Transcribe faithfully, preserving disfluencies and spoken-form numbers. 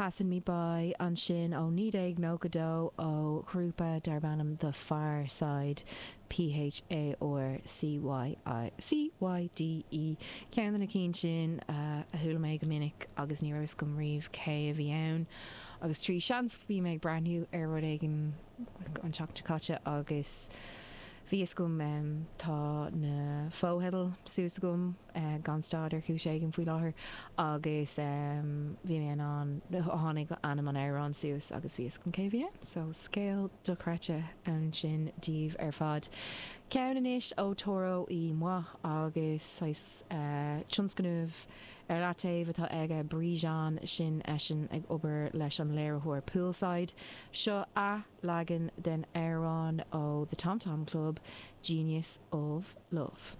Passin' Me By ansin ó naoi déag nócha dó ó ghrúpa darb ainm The Pharcyde, P H A R C Y I C Y D E. Ceann de na cinn sin a chuala mé go minic agus ní raibh fhios agam riamh cé a bhí ann. Agus trí sheans bhí mé ag breathnú ar rud éigin an tseachtain seo caite agus bhí fhios agam, tá na fotheidil suas agam gan stad ar chúis éigin faoi láthair agus bhí mé in ann, tháinig ainm an amhráin suas agus bhí fhios agam cé a bhí ann. So scéal dochreidte ansin daoibh ar fad. Ceann anois ó Toro y Moi agus saghas tionscnamh ar leataobh atá aige Brejon, sin eisean ag obair leis an léiritheoir Poolside. Seo athleagan den amhrán ó The Tom Tom Club, Genius of Love.